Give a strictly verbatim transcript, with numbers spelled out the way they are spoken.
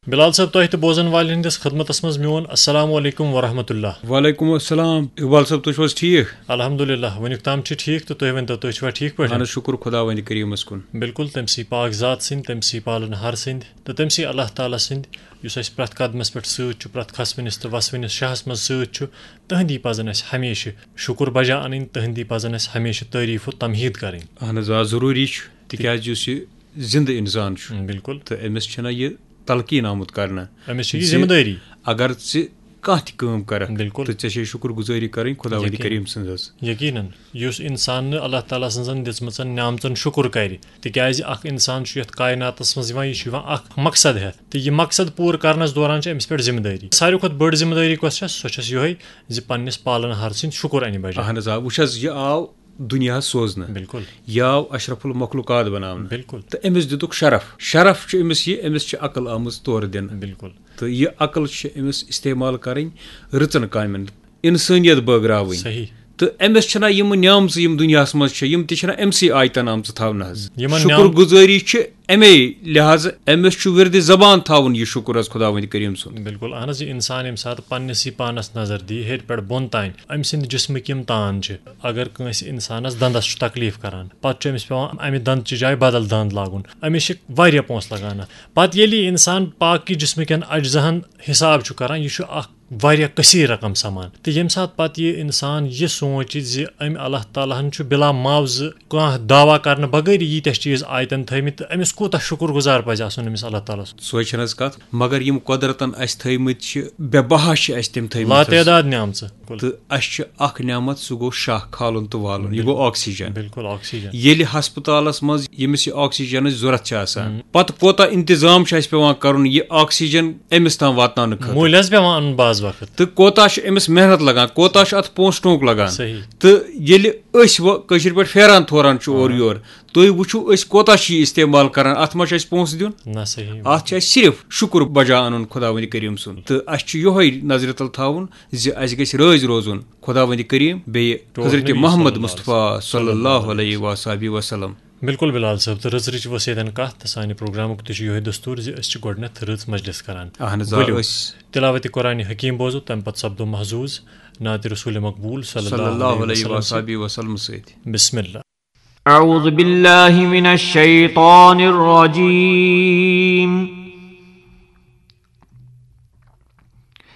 بلال صٲب، تۄہہِ تہٕ بوزن والٮ۪ن ہٕنٛدِس خدمتس منٛز میون السلام علیکم ورحمۃ اللہ۔ وعلیکم السلام۔ اقبال صٲب، تُہۍ چھِو حظ ٹھیٖک؟ الحمدللہ، وٕنیُک تام چھِ ٹھیٖک، تہٕ تُہۍ ؤنۍتو، تُہۍ چھِوا ٹھیٖک پٲٹھۍ؟ اہن حظ، شُکُر خۄداوندِ کریٖمس کُن۔ بِلکُل، تٔمۍ سٕے پاک ذات سٕنٛدۍ، تٔمۍ سٕے پالن ہار سٕنٛدۍ، تہٕ تٔمۍ سٕے اللہ تعالیٰ سٕنٛدۍ، یُس اَسہِ پرٛٮ۪تھ قدمس پٮ۪ٹھ سۭتۍ چھُ، پرٛٮ۪تھ کھسوٕنِس تہٕ وسوٕنِس شاہس منٛز سۭتۍ چھُ، تٕہٕنٛدی پزن اَسہِ ہمیشہٕ شُکُر بجا انٕنۍ، تٕہٕنٛدی پزن اَسہِ ہمیشہٕ تعریٖف و تمہید کرٕنۍ۔ اہن حظ، آ، ضروٗری چھُ، تِکیازِ یُس یہِ زِندٕ انسان چھُ، بِلکُل۔ تہٕ أمِس چھِنہ یہِ تلقیٖن آمُت کرنہٕ أمِس چھِ یہِ زِ ذمہٕ دٲری۔ اگر ژٕ کانٛہہ تہِ کٲم کرکھ، بِلکُل۔ تہٕ ژےٚ چھے شُکُر گُزٲری کرٕنۍ خۄداوندِ یقیٖن۔ کریٖم سٕنٛز حظ۔ یقیٖنن، یُس انسان نہٕ اللہ تعالیٰ سٕنٛزن دِژمٕژن نعمژن شُکُر کرِ، تِکیازِ اکھ انسان چھُ یتھ کائناتس منٛز یِوان، یہِ چھُ یِوان اکھ مقصد ہٮ۪تھ، تہٕ یہِ مقصد پوٗرٕ کرنس دوران چھِ أمِس پٮ۪ٹھ ذمہٕ دٲری۔ ساروی کھۄتہٕ بٔڑ ذمہٕ دٲری کۄس چھےٚ؟ سۄ چھس یِہوٚے زِ پننِس پالن ہار سٕنٛدۍ شُکُر انہِ بجا۔ اہن حظ، آ، وٕچھ حظ، یہِ آو دُنیاہس سوزنہٕ۔ بِلکُل۔ یہِ آو اشرف المخلوقات بناونہٕ۔ بِلکُل۔ تہٕ أمِس دِتُکھ شرف۔ شرف چھُ أمِس یہِ، أمِس چھِ عقل آمٕژ تورٕ دِنہٕ۔ بِلکُل۔ تہٕ یہِ عقل چھِ أمِس استعمال کرٕنۍ رٕژن کامٮ۪ن، انسٲنیت بٲگراوٕنۍ۔ صحیح۔ تہٕ أمِس چھِنہ یِم نعمژٕ یِم دُنیاہس منٛز چھِ، یِم تہِ چھِنہ أمسٕے آیتن آمژٕ تھاونہٕ حظ۔ یِمن شُکُر نعم- گُزٲری چھِ اَمے لحاظہٕ أمِس چھُ وِردِ زبان تھاوُن یہِ شُکُر حظ خۄداوندِ کریٖم سُنٛد۔ بِلکُل، اہن حظ، یہِ اِنسان ییٚمہِ ساتہٕ پننِسٕے پانس نظر دِیہِ، ہیٚرِ پٮ۪ٹھ بۄن تام، أمۍ سٕنٛدِ جسمٕکۍ یِم تان چھِ، اگر کٲنٛسہِ اِنسانس دندس چھُ تکلیٖف کران، پتہٕ چھُ أمِس پٮ۪وان اَمہِ دندٕ چہِ جایہِ بدل دند لاگُن، أمِس چھِ واریاہ پونٛسہٕ لگان اَتھ۔ پتہٕ ییٚلہِ یہِ اِنسان باقٕے جسمٕکٮ۪ن اجزاہن حساب چھُ کران، یہِ چھُ اکھ واریاہ کثیٖر رقم سمان۔ تہٕ ییٚمہِ ساتہٕ پتہٕ یہِ اِنسان یہِ سونٛچہِ زِ أمۍ اللہ تعالیٰ ہن چھُ بِلا معاوضہٕ کانٛہہ دعویٰ کرنہٕ بغٲرٕے ییٖتیٛاہ چیٖز آیتن تھٲومٕتۍ، تہٕ أمِس کوٗتاہ شُکُر گُزار پزِ آسُن أمِس اللہ تعالیٰ سُنٛد۔ سۄے چھَنہٕ حظ کتھ، مگر یِم قۄدرتن اَسہِ تھٲومٕتۍ چھِ، بے بہا چھِ اَسہِ تِم تھٲومٕتۍ حظ۔ لاتعداد نعمژٕ۔ تہٕ اَسہِ چھِ اکھ نعمت، سُہ گوٚو شاہ کھالُن تہٕ والُن، یہِ گوٚو آکسیجن۔ بِلکُل، آکسیجن۔ ییٚلہِ ہسپتالس منٛز ییٚمِس یہِ آکسیجنٕچ ضوٚرتھ چھِ آسان، ہم۔ پتہٕ کوٗتاہ انتظام چھُ اَسہِ پٮ۪وان کرُن یہِ آکسیجن أمِس تام واتناونہٕ خٲطرٕ؟ مٔلۍ حظ پٮ۪وان اَنُن بعض وقت۔ تہٕ کوٗتاہ چھُ أمِس محنت لگان، کوٗتاہ چھُ اَتھ پونٛسہٕ ٹونٛک لگان؟ صحیح۔ تہٕ ییٚلہِ أسۍ وۄنۍ کٲشِر پٲٹھۍ پھیران تھوران چھُ اورٕ آ۔ یور، تُہۍ وٕچھِو أسۍ کوٗتاہ چھِ یہِ استعمال کران، اَتھ ما چھُ اَسہِ پونٛسہٕ دیُن؟ نہ، صحیح۔ اَتھ چھُ اَسہِ صرف شُکُر بجا اَنُن خۄداوندِ کریٖم سُنٛد۔ تہٕ اَسہِ چھُ یِہوٚے نظرِ تل تھاوُن زِ اَسہِ گژھِ رٲضۍ روزُن خۄداوندِ کریٖم بیٚیہِ ٹوٹھ حضرت نبی محمد صلی اللہ علیہ مصطفیٰ وسلم۔ صلی اللہ علیہ وآلہ وسلم۔ بِلکُل بِلال صٲب، تہٕ رٕژ رٕچ ؤژھ ییٚتٮ۪ن کَتھ، تہٕ سانہِ پروگرامُک تہِ چھُ یِہوٚے دستوٗر زِ أسۍ چھِ گۄڈٕنٮ۪تھ رٕژ مجلس کران۔ اہن حظ، آ، ؤلِو، أسۍ تلاوت قرآن حکیم بوزو، تَمہِ پتہٕ سپدو محظوظ نعت رسول مقبول صلی صلی اللہ اللہ علیہ علیہ وسلم وآلہ سۭتۍ۔ وسلم۔ بسم اللہ۔ أعوذ بالله من الشيطان الرجيم.